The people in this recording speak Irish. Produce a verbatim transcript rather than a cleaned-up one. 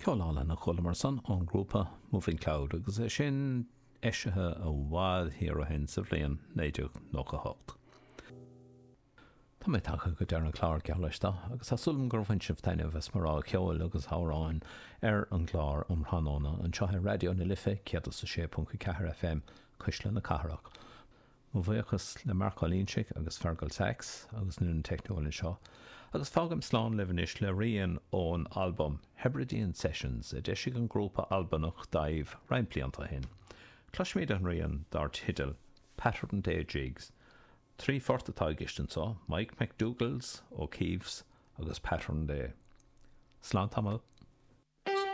Ceol álainn a chualamar ansan ón ngrúpa Moving Cloud agus é sin eisithe i bhfad thiar ó shin sa bhliain naoi déag nócha hocht. Tá mé tagtha go deireadh an chláir geall leis agus tá súil agam gur bhain sibh taitneamh as mo rogha ceoil agus amhráin ar an gclár um thráthnóna anseo ar Raidió na Life céad is a sé ponc a ceathair F M, Cuisle na Cathrach. Mo bhuíochas le Marc Ó Loingsigh agus Fergal Sachs agus an fhoireann teicniúil anseo, agus fágaim slán libh anois le rian ón albam Hebridean Sessions a d'eisigh an grúpa Albanach Daimh roinnt blianta ó shin. Cloisfimid an rian dar teideal Pattern Day Jigs. Trí phort atá i gceist anseo, Mike McDougall's, O'Keefe's agus Pattern Day. Slán tamall.